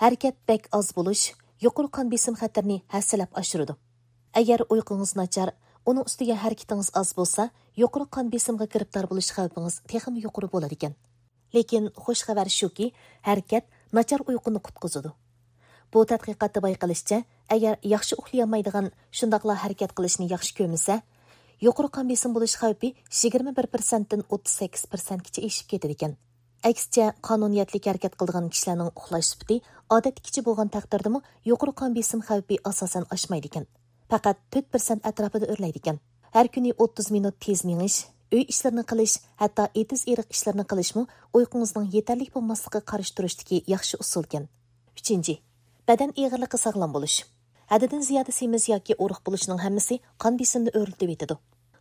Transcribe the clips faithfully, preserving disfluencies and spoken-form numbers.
ھەرىكەت بەك ئاز بولۇش يۇقىرى قان بېسىم خەتىرىنى ھەسسىلەپ ئاشۇرىدۇ. ئەگەر ئۇيقۇڭىز ناچار، ئۇنىڭ ئۈستىگە ھەرىكىتىڭىز ئاز بولسا، يۇقىرى قان بېسىمغا گىرىپتار بولۇش خەۋپىڭىز تېخىمۇ يۇقىرى بولىدىكەن. لېكىن خۇش خەۋەر شۇكى، ھەرىكەت ناچار ئۇيقۇنى قۇتقۇزىدۇ. بۇ تەتقىقاتتا بايقىلىشىچە، ئەگەر ياخشى ئۇخلىيالمايدىغان، شۇنداقلا ھەرىكەت قىلىشنى ياخشى كۆرمىسە، يۇقىرى قان بېسىم بولۇش خەۋپى يىگىرمە بىر پىرسەنتتىن ئوتتۇز سەككىز پىرسەنتكىچە ئېشىپ كېتىدىكەن. ئەكسىچە، قانۇنىيەتلىك ھەرىكەت قىلىدىغان كىشىلەرنىڭ ئۇخلاش سۈپىتى ئادەتتىكىچە بولغان تەقدىردىمۇ، يۇقىرى قان بېسىم خەۋپى ئاساسەن ئاشمايدىكەن. پەقەت تۆت پىرسەنت ئەتراپىدا ئۆرلەيدىكەن. ھەر كۈنى ئوتتۇز مىنۇت تېز مېڭىش، ئۆي ئىشلىرىنى قىلىش، ھەتتا ئېتىز-ئېرىق ئىشلىرىنى قىلىشمۇ ئۇيقۇڭىزنىڭ يېتەرلىك بولماسلىقىغا قارشى تۇرۇشتىكى ياخشى ئۇسۇلكەن. ئۈچىنچى، بەدەن ئېغىرلىقى ساغلام بولۇش. ھەددىدىن زىيادە سېمىز ياكى ئورۇق بولۇشنىڭ ھەممىسى قان بېسىمنى ئۆرلىتىۋېتىدۇ.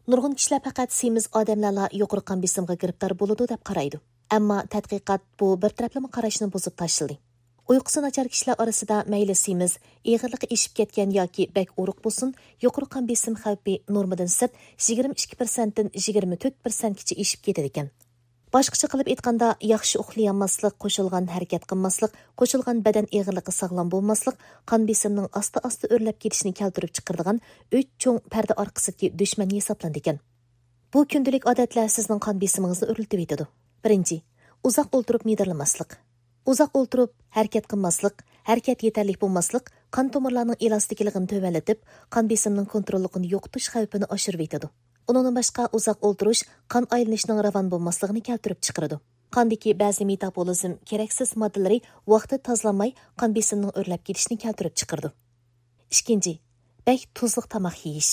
نۇرغۇن كىشىلەر پەقەت سېمىز ئادەملەرلا يۇقىرى قان بېسىمغا گىرىپتار بولىدۇ دەپ قارايدۇ. ئەمما تەتقىقات بۇ بىر تەرەپلىمە قاراشنى بۇزۇپ تاشلىدى. ئۇيقۇسى ناچار كىشىلەر ئارىسىدا مەيلى سېمىز، ئېغىرلىقى ئېشىپ كەتكەن ياكى بەك ئورۇق بولسۇن، يۇقىرى قان بېسىم خەۋپى نورمىدىن سىرت يىگىرمە ئىككى پىرسەنتتىن يىگىرمە تۆت پىرسەنتكىچە ئېشىپ كېتىدىكەن. باشقىچە قىلىپ ئېيتقاندا، ياخشى ئۇخلىيالماسلىق، قوشۇلغان ھەرىكەت قىلماسلىق، قوشۇلغان بەدەن ئېغىرلىقى ساغلام بولماسلىق قان بېسىمنىڭ ئاستا-ئاستا ئۆرلەپ كېتىشىنى كەلتۈرۈپ چىقىرىدىغان ئۈچ چوڭ پەردە ئارقىسىدىكى دۈشمەن ھېسابلىنىدىكەن. بۇ كۈندىلىك ئادەتلەر سىزنىڭ قان بېسىمىڭىزنى ئۆرلىتىۋېتىدۇ. بىرىنچى، ئۇزاق ئولتۇرۇپ مىدىرلىماسلىق. ئۇزاق ئولتۇرۇپ ھەرىكەت قىلماسلىق، ھەرىكەت يېتەرلىك بولماسلىق قان تومۇرلارنىڭ ئېلاستىكىلىقىنى تۆۋەنلىتىپ، قان بېسىمىنىڭ كونتروللۇقىنى يوقىتىش خەۋپىنى ئاشۇرۇۋېتىدۇ. ئۇنىڭدىن باشقا، ئۇزاق ئولتۇرۇش قان ئايلىنىشنىڭ راۋان بولماسلىقىنى كەلتۈرۈپ چىقىرىدۇ. قاندىكى بەزى مېتابولىزم كېرەكسىز ماددىلىرى ۋاقتىدا تازىلانماي، قان بېسىمنىڭ ئۆرلەپ كېتىشىنى كەلتۈرۈپ چىقىرىدۇ. ئىككىنچى، بەك تۇزلۇق تاماق يېيىش.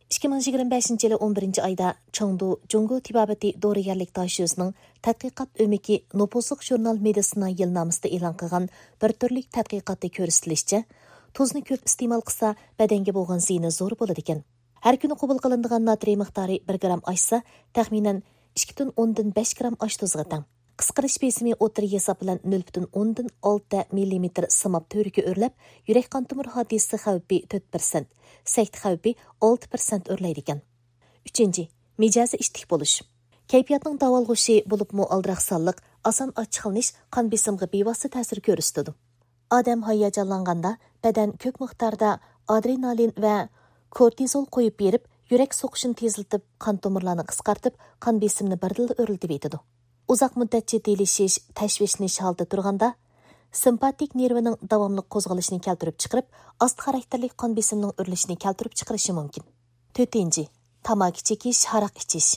ئىككى مىڭ يىگىرمە بەشىنچى يىلى ئون بىرىنچى ئايدا چېڭدۇ جۇڭگو تېبابىتى دورىگەرلىك داشۆسىنىڭ تەتقىقات ئۆمىكى نوپۇزلۇق ژۇرنال مېدىسىنا يىلنامىسىدا ئېلان قىلغان بىر تۈرلۈك تەتقىقاتتا كۆرسىتىلىشىچە، تۇزنى كۆپ ئىستېمال قىلسا، بەدەنگە بولغان زىيىنى زور بولىدىكەن. ھەر كۈنى قوبۇل قىلىنىدىغان ناترىي مىقدارى بىر گرام ئاشسا، تەخمىنەن ئىككى پۈتۈن ئوندىن بەش گرام ئاش تۇزىغا تەڭ. قىسقىرىش بېسىمى ئوتتۇرا ھېساب بىلەن نۆل پۈتۈن ئوندىن ئالتە مىللىمېتىر سىماب تۈۋرۈكى ئۆرلەپ، يۈرەك قان تومۇر ھادىسىسى خەۋپى تۆت پىرسەنت، سەكتە خەۋپى ئالتە پىرسەنت ئۆرلەيدىكەن. ئۈچىنچى، مىجەزى ئىتتىك بولۇش. كەيپىياتنىڭ داۋالغۇشى، بولۇپمۇ ئالدىراقسانلىق، ئاسان ئاچچىقلىنىش قان بېسىمىغا بىۋاسىتە تەسىر كۆرسىتىدۇ. ئادەم ھاياجانلانغاندا بەدەن كۆپ مىقداردا ئادرېنالىن ۋە كورتىزول قويۇپ بېرىپ، يۈرەك سوقۇشىنى تېزلىتىپ، قان تومۇرلارنى قىسقارتىپ، قان بېسىمىنى بىردىنلا ئۆرلىتىۋېتىدۇ. ئۇزاق مۇددەت جىددىيلىشىش، تەشۋىشلىنىش ھالىتىدە تۇرغاندا، سىمپاتىك نېرۋىنىڭ داۋاملىق قوزغىلىشىنى كەلتۈرۈپ چىقىرىپ، ئاستا خاراكتېرلىك قان بېسىمىنىڭ ئۆرلىشىنى كەلتۈرۈپ چىقىرىشى مۇمكىن. تۆتىنچى، تاماكا چېكىش، ھاراق ئىچىش.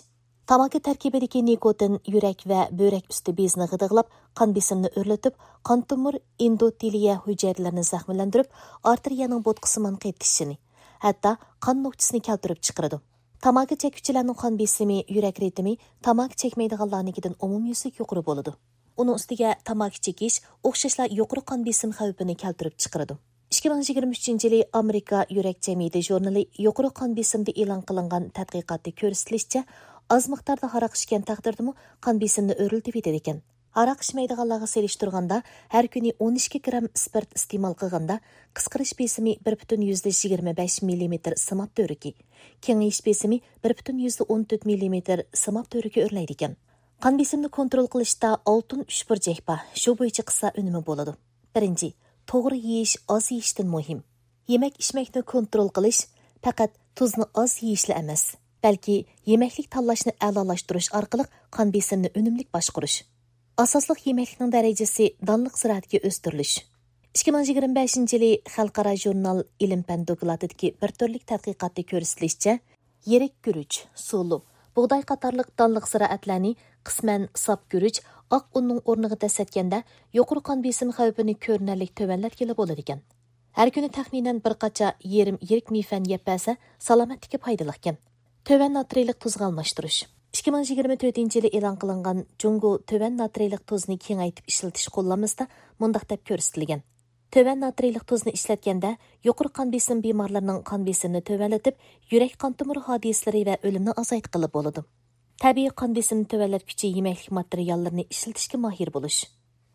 تاماكا تەركىبىدىكى نىكوتىن يۈرەك ۋە بۆرەك ئۈستى بېزىنى غىدىقلاپ، قان بېسىمىنى ئۆرلىتىپ، قان تومۇر ئېندوتېلىيە ھۈجەيرىلىرىنى زەخىملەندۈرۈپ، ئارتېرىيەنىڭ بوتقىسىمان قېتىشىشىنى، ھەتتا قان نوكچىسىنى كەلتۈرۈپ چىقىرىدۇ. تاماكا چەككۈچىلەرنىڭ قان بېسىمى يۈرەك رىتىمى تاماكا چەكمەيدىغانلارنىڭكىدىن ئومۇميۈزلۈك يۇقىرى بولىدۇ. ئۇنىڭ ئۈستىگە تاماكا چېكىش ئوخشاشلا يۇقىرى قان بېسىم خەۋپىنى كەلتۈرۈپ چىقىرىدۇ. ئىككى مىڭ يىگىرمە ئۈچىنچى يىلى ئامېرىكا يۈرەك جەمئىيىتى ژۇرنىلى يۇقىرى قان بېسىمىدا ئېلان قىلىنغان تەتقىقاتتا كۆرسىتىلىشىچە، ئاز مىقداردا ھاراق ئىچكەن تەقدىردىمۇ قان بېسىمنى ئۆرلىتىۋېتىدىكەن. ھاراق ئىچمەيدىغانلارغا سېلىشتۇرغاندا، ھەر كۈنى ئون ئىككى گرام ئىسپىرت ئىستېمال قىلغاندا، قىسقىرىش بېسىمى بىر پۈتۈن يۈزدە يىگىرمە بەش مىللىمېتىر سىماب تۈۋرۈكى، كېڭىيىش بېسىمى بىر پۈتۈن يۈزدە ئون تۆت مىللىمېتىر سىماب تۈۋرۈكى ئۆرلەيدىكەن. قان بېسىمنى كونترول قىلىشتا ئالتۇن ئۈچ بۇرجەك بار، شۇ بويىچە قىلسا ئۈنۈمى بولىدۇ. بىرىنچى، توغرا يېيىش ئاز يېيىشتىن مۇھىم. يېمەك-ئىچمەكنى كونترول قىلىش پەقەت تۇزنى ئاز يېيىشلا ئەمەس، بەلكى يېمەكلىك تاللاشنى ئەلالاشتۇرۇش ئارقىلىق قان بېسىمنى ئۈنۈملۈك باشقۇرۇش. ئاساسلىق يېمەكلىكنىڭ دەرىجىسى دانلىق زىرائەتكە ئۆستۈرۈلۈش. ئىككى مىڭ يىگىرمە بەشىنچى يىلى خەلقئارا ژۇرنال ئىلىم-پەن دوكلاتىدىكى بىر تۈرلۈك تەتقىقاتتا كۆرسىتىلىشىچە، يىرىك گۈرۈچ، سۇلۇ، بۇغداي قاتارلىق دانلىق زىرائەتلەرنى قىسمەن ساپ گۈرۈچ، ئاق ئۇننىڭ ئورنىغا دەسسەتكەندە، يۇقىرى قان بېسىم خەۋپىنى كۆرۈنەرلىك تۆۋەنلەتكىلى بولىدىكەن. ھەر كۈنى تەخمىنەن بىر قاچا يېرىم يىرىك مىيفەن يەپ بەرسە، سالامەتلىككە پايدىلىقكەن. تۆۋەن ناترىيلىق تۇزغا ئالماشتۇرۇش. ئىككى مىڭ يىگىرمە تۆتىنچى يىلى ئېلان قىلىنغان جۇڭگو تۆۋەن ناترىيلىق تۇزنى كېڭەيتىپ ئىشلىتىش قوللانمىسىدا مۇنداق دەپ كۆرسىتىلگەن: تۆۋەن ناترىيلىق تۇزنى ئىشلەتكەندە، يۇقىرى قان بېسىم بىمارلىرىنىڭ قان بېسىمىنى تۆۋەنلىتىپ، يۈرەك قان تومۇر ھادىسىلىرى ۋە ئۆلۈمنى ئازايتقىلى بولىدۇ. تەبىئىي قان بېسىمنى تۆۋەنلەتكۈچى يېمەكلىك ماتېرىياللىرىنى ئىشلىتىشكە ماھىر بولۇش.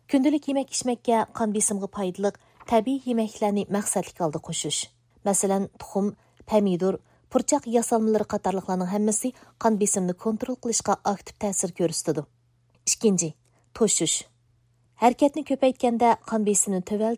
كۈندىلىك يېمەك-ئىچمەككە قان بېسىمىغا پايدىلىق تەبىئىي يېمەكلىكلەرنى مەقسەتلىك ھالدا قوشۇش. مەسىلەن، تۇخۇم، پەمىدۇر، پۇرچاق ياسالمىلىرى قاتارلىقلارنىڭ ھەممىسى قان بېسىمنى كونترول قىلىشقا ئاكتىپ تەسىر كۆرسىتىدۇ. ئىككىنچى، توشۇش. ھەرىكەتنى كۆپەيتكەندە قان بېسىمنى تۆۋەنلىتىپ،